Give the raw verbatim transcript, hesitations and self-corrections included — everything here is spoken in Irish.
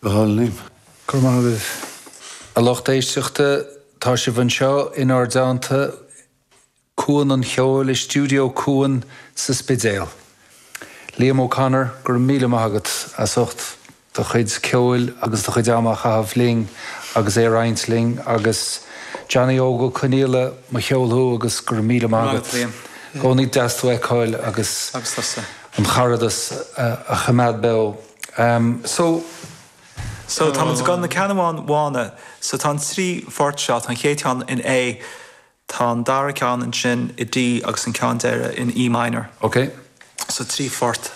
Go hálainn. Go maith agaibh. A lucht éisteachta tá sibh anseo inár dteannta Cuan an Cheoil i stiúideo Cuan sa Spidéal. Liam O'Connor go raibh míle maith agat as ucht do chuid ceoil agus do chuid ama a chaitheamh linn agus é a roinnt linn agus Johnny Óg Ó Conghaile mo cheol thú agus go raibh míle maith agat. Cónaí deas tú a fheiceáil agus agus an caradas a choimeád beo. Um, so So tá gan na ceanháin bhána, so tá an trí phort seo an chéad cheann in A, tá an dara ceann ansin i D agus an ceann deiridh in E minor. Okay. So trí phort